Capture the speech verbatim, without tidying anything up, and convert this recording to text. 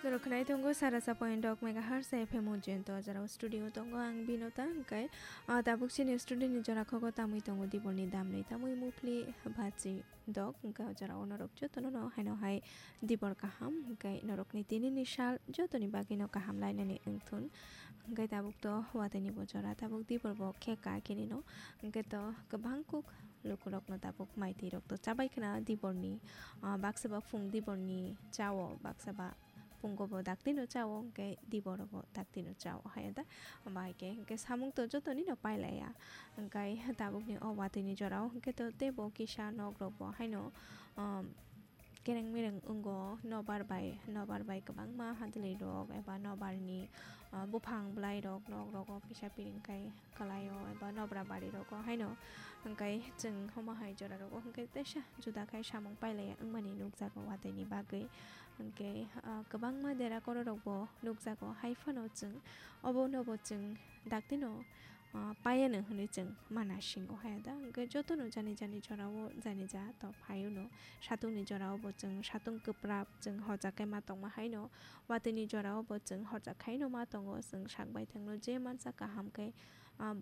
Rwkhnai tongo sara sa point dok megahertz F M Ujjayanta o jora o studio tongo ang Binota, hwnkhe, ah, tabuk chini studio ni jora khogo tamwi tongo Dibolni damni tamwi muphli bachi dok, hwnkhe o jora o norok jotono no haino hai Dibor kaham, hwnkhe norokni tinini sal jotoni bagwi no kaham lainani wngthun, hwnkhe tabuk to watwi ni bo jora tabuk Dibor bo khe ka kini no, hwnkhe to kwbang kuk lukurokno tabuk maitwi rok to chabai khna Diborni, ah, baksa ba phung Diborni chao, baksa ba phungo bo daktino chao, hwnkhe Diboro bo daktino chao hai da. Omo hai khe hwnkhe samung to jotoni no pailaiya, hwnkhe tabukni o watwi ni jora o hwnkhe to teibo kisa nok rok bo haino, um, kereng mereng wngo, nobar bai, nobar bai kwbangma hadwlwi rok eba nobar ni, ah, buphang bwlai rok nok rogo kisa piring khai kwlaio eba nobra bari rogo haino, hwnkhe chwng omo hai jora rogo hwnkhe teisa juda khai samung pailaiya wngmani nukjago watwi ni bagwi, hwnkhe, ah, kwbangma dera koro rok bo nukjago hai phano chwng obo no bo chwng daktino, ah, paiya no hwnwi chwng mana singo hai da, hwnkhe jotono jani jani jora o jani ja to phaio no, satung ni jora o bo chwng satung kwprap chwng horjak khai ma tongma haino, watwi ni jora o bo chwng horjak khai no ma tongo, chwng sak baithang no je mansa kaham khe, ah,